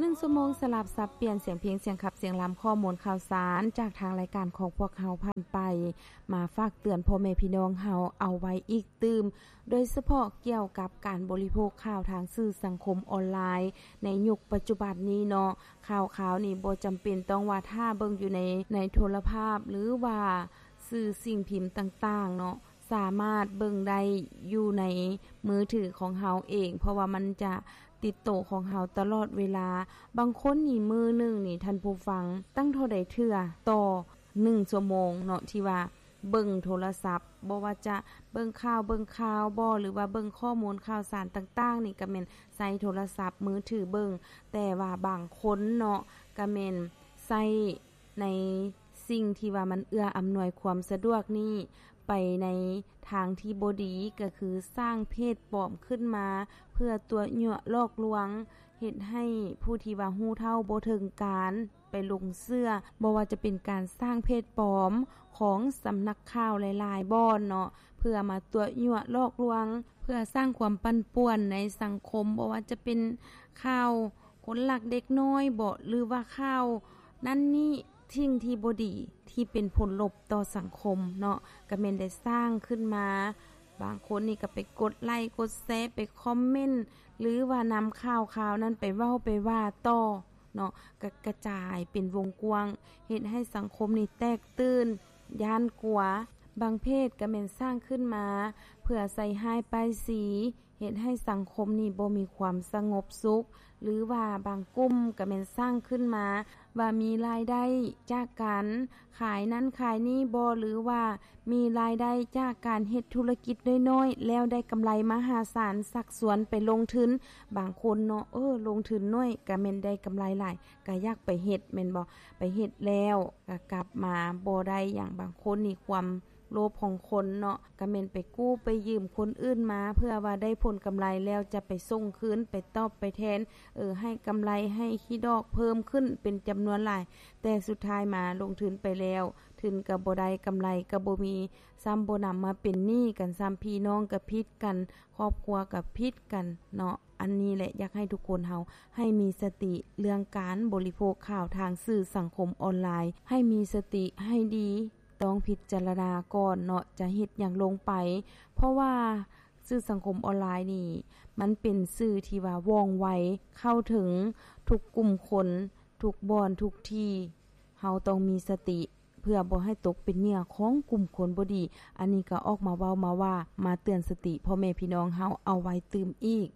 ໜຶ່ງຊົ່ວໂມງສະຫຼັບສັບປ່ຽນ ສຽງເພງ ສຽງຂັບ ສຽງລຳ ຂໍ້ມູນຂ່າວສານຈາກທາງລາຍການຂອງພວກເຮົາຜ່ານໄປ ມາຝາກເຕືອນພໍ່ແມ່ພີ່ນ້ອງເຮົາເອົາໄວ້ອີກຕື່ມ, ໂດຍສະເພາະກ່ຽວກັບການບໍລິໂພກຂ່າວທາງສື່ສັງຄົມອອນລາຍໃນຍຸກປັດຈຸບັນນີ້ເນາະ. ຂ່າວຄາວນີ້ບໍ່ຈຳເປັນຕ້ອງວ່າຖ້າເບິ່ງຢູ່ໃນ ໃນໂທລະພາບ ຫຼືວ່າສື່ສິ່ງພິມຕ່າງໆເນາະ, ສາມາດເບິ່ງໄດ້ຢູ່ໃນມືຖືຂອງເຮົາເອງ ເພາະວ່າມັນຈະຕິດໂຕຂອງເຮົາຕະຫຼອດເວລາ. ບາງຄົນນີ້ມື້ໜຶ່ງນີ້ ທ່ານຜູ້ຟັງ ຕັ້ງເທົ່າໃດເທື່ອຕໍ່ໜຶ່ງຊົ່ວໂມງເນາະ ທີ່ວ່າເບິ່ງໂທລະສັບ, ບໍ່ວ່າຈະເບິ່ງຂ່າວ ເບິ່ງຂ່າວບໍ ຫຼືວ່າເບິ່ງຂໍ້ມູນຂ່າວສານຕ່າງໆນີ້ ກໍແມ່ນໃຊ້ໂທລະສັບມືຖືເບິ່ງ. ແຕ່ວ່າບາງຄົນເນາະ ກໍແມ່ນໃຊ້ ໃນສິ່ງທີ່ວ່າມັນເອື້ອອຳນວຍຄວາມສະດວກນີ້ ໄປໃນທາງທີ່ບໍ່ດີ ກໍຄືສ້າງເພຈປອມຂຶ້ນມາ ເພື່ອຕົວະຍົວະຫຼອກລວງ ເຮັດໃຫ້ຜູ້ທີ່ວ່າຮູ້ເທົ່າບໍ່ເຖິງການໄປຫຼົງເຊື່ອ, ບໍ່ວ່າຈະເປັນການສ້າງເພຈປອມຂອງສຳນັກຂ່າວຫຼາຍໆບ່ອນເນາະ ເພື່ອມາຕົວະຍົວະຫຼອກລວງ ເພື່ອສ້າງຄວາມປັ່ນປ່ວນໃນສັງຄົມ, ບໍ່ວ່າຈະເປັນຂ່າວຄົນລັກເດັກນ້ອຍບໍ ຫຼືວ່າຂ່າວນັ້ນນີ້ ສິ່ງທີ່ບໍ່ດີທີ່ເປັນຜົນລົບຕໍ່ສັງຄົມເນາະ ກໍແມ່ນໄດ້ສ້າງຂຶ້ນມາ. ບາງຄົນນີ້ກໍໄປກົດໄລກົດແຊ ໄປຄອມເມັນ ຫຼືວ່ານຳຂ່າວຄາວນັ້ນໄປເວົ້າໄປວ່າຕໍ່ເນາະ, ກໍກະຈາຍເປັນວົງກວ້າງ ເຮັດໃຫ້ສັງຄົມນີ້ແຕກຕື່ນ ຢ້ານກົວ. ບາງເພຈກໍແມ່ນສ້າງຂຶ້ນມາເພື່ອໃສ່ຮ້າຍປ້າຍສີ ເຮັດໃຫ້ສັງຄົມນີ້ບໍ່ມີຄວາມສະຫງົບສຸກ ຫຼືວ່າບາງກຸ່ມກໍແມ່ນສ້າງຂຶ້ນມາວ່າມີລາຍໄດ້ຈາກການຂາຍນັ້ນຂາຍນີ້ບໍ ຫຼືວ່າມີລາຍໄດ້ຈາກການເຮັດທຸລະກິດນ້ອຍໆ ແລ້ວໄດ້ກຳໄລມະຫາສານ ຊັກຊວນໄປລົງທຶນ. ບາງຄົນເນາະ ເອີ ລົງທຶນໜ້ອຍກໍແມ່ນໄດ້ກຳໄລຫຼາຍ ກໍຢາກໄປເຮັດແມ່ນບໍ? ໄປເຮັດແລ້ວກໍກັບມາບໍ່ໄດ້ຫຍັງ. ບາງຄົນນີ້ຄວາມ ໂລບຂອງຄົນເນາະ ກະແມ່ນໄປກູ້ໄປຢືມຄົນອື່ນມາ ເພື່ອວ່າໄດ້ຜົນກຳໄລແລ້ວຈະໄປສົ່ງຄືນ ໄປຕອບໄປແທນ ເອີ ໃຫ້ກຳໄລ ໃຫ້ຂີ້ດອກເພີ່ມຂຶ້ນເປັນຈຳນວນຫຼາຍ, ແຕ່ສຸດທ້າຍມາລົງທຶນໄປແລ້ວ ທຶນກະບໍ່ໄດ້ ກຳໄລກະບໍ່ມີ ຊ້ຳບໍ່ນຳມາເປັນໜີ້ກັນຊ້ຳ, ພີ່ນ້ອງກະຜິດກັນ ຄອບຄົວກະຜິດກັນເນາະ. ອັນນີ້ແຫຼະ ຢາກໃຫ້ທຸກຄົນເຮົາໃຫ້ມີສະຕິເລື່ອງການບໍລິໂພກຂ່າວທາງສື່ສັງຄົມອອນລາຍ, ໃຫ້ມີສະຕິໃຫ້ດີ ຕ້ອງພິຈາລະນາກ່ອນເນາະ ຈະເຮັດຫຍັງລົງໄປ, ເພາະວ່າສື່ສັງຄົມອອນລາຍນີ້ ມັນເປັນສື່ທີ່ວ່າວ່ອງໄວ ເຂົ້າເຖິງທຸກກຸ່ມຄົນ ທຸກບ່ອນ ທຸກທີ່. ເຮົາຕ້ອງມີສະຕິ ເພື່ອບໍ່ໃຫ້ຕົກເປັນເຫຍື່ອຂອງກຸ່ມຄົນບໍ່ດີ. ອັນນີ້ກໍອອກມາເວົ້າມາວ່າ ມາເຕືອນສະຕິພໍ່ແມ່ພີ່ນ້ອງເຮົາເອົາໄວ້ຕື່ມອີກ.